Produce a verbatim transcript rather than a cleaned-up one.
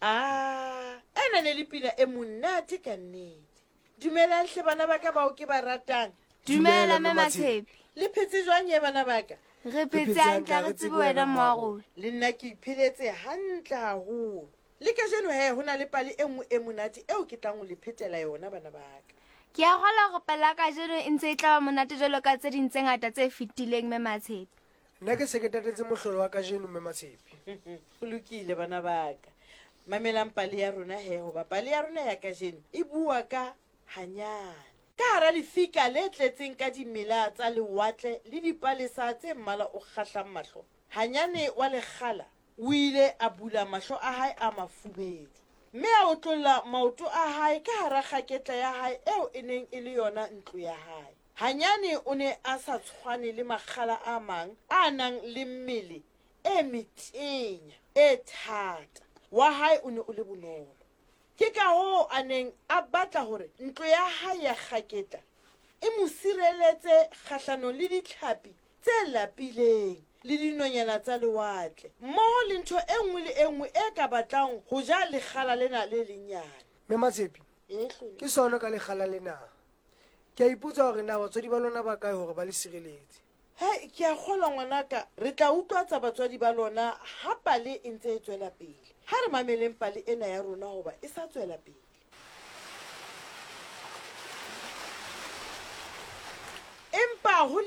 A ena ne le pina e monate ka nnete. Dumelang hle bana ba ka bao ke ba ratang. Dumela mme Matshepe. Le phetse jwang ye bana ba ka? Re phetse hantle, ha re tsebe wena mma wa rona. Le nna ke ipheletse hantle haholo. Le kajeno he ho na le pale e nngwe e monate eo ke tlang ho le phetela yona bana ba ka. Ke a kgolwa hore pale ya kajeno e ntse e tla ba monate jwalo ka tse ding tse ngata tse fetileng mme Matshepe. Nna ke se ke tatetse mohlolo wa kajeno mme Matshepe. Ho lokile bana ba ka. Mamelang pale ya rona he, hoba pale ya rona ya kajeno e bua ka hanyane. Ka hara lefika le tletseng ka dimela tsa lewatle le dipalesa tse mmala o kgahlang mahlo, Hanyane wa lekgala o ile a bula mahlo a hae a mafubedu mme a otlolla maoto a hae ka hara kgaketla ya hae eo e neng e le yona ntlo ya hae. Hanyane o ne a sa tshwane le makgala a mang a nang le mmele e metenya e thata. Wa hae o ne o le bonolo. Ke ka hoo a neng a batla hore ntlo ya hae ya kgaketla e mo sireletse kgahlanong le ditlhapi tse lapileng le dinonyana tsa lewatle, mmoho le ntho e nngwe le e nngwe e ka batlang ho ja lekgala lena le lenyane. Mme Matshepe, E hlole. ke sona ka lekgala lena. Ke a ipotsa hore na batswadi ba lona ba kae hore ba le sireletse. Hei, ke a kgolwa ngwanaka, re tla utlwatsa batswadi ba lona ha pale e ntse e tswela pele. Ha re mameleng pale ena ya rona hoba e sa tswela pele. Empa ho ne